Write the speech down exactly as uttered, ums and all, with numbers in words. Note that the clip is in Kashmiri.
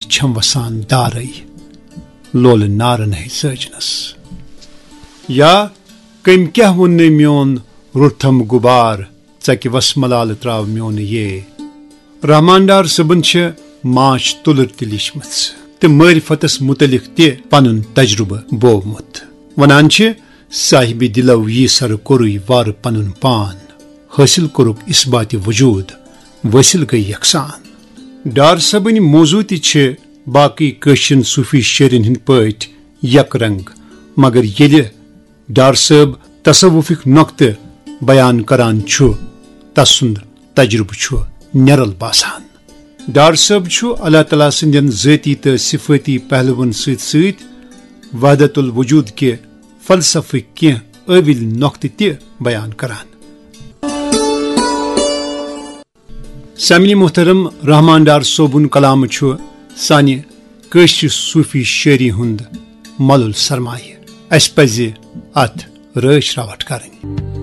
چھم وسان دارے، لولہٕ نارن ہے سٲجنس۔ یا کٔمۍ کیاہ ووٚن نے میون روٚٹھم غبار، ژکہِ وس ملالہٕ تراو میون یہ۔ رحمان ڈار صٲبن چھِ ماچھ تُلر تہِ لیچھمٕژ تہٕ معرفتس متعلق تہِ پنُن تجربہٕ بوومُت۔ ونان چھِ، صاحبِ دلو یی سر کوٚرُے وارٕ پنُن پان، حٲصِل کوٚرُکھ اثباتِ وجود، وٲصِل گٔے یکسان۔ ڈار صٲبٕنۍ موضوع تہِ چھِ باقٕے کٲشرٮ۪ن صوٗفی شٲعرٮ۪ن ہٕنٛدۍ پٲٹھۍ یک رنگ، مگر ییٚلہِ ڈار صٲب تصوفٕکۍ نۄقطہٕ بیان کران چھُ، تسُنٛد تجربہٕ چھُ نِرل باسان۔ ڈار صٲب چھُ اللہ تعالیٰ سٕنٛدٮ۪ن ذٲتی تہٕ صفٲتی پہلوَن سۭتۍ سۭتۍ وحدت الوجود کہِ فلسفٕکۍ کینٛہہ ٲوِل نۄقطہٕ تہِ بیان کران۔ سامعین محترم، رحمان ڈار صٲبُن کلام چھُ سانہِ کٲشرِ صوٗفی شٲعری ہُنٛد مۄلُل سرمایہِ۔ اَسہِ پَزِ اَتھ رٲچھ راوَٹھ کرٕنۍ۔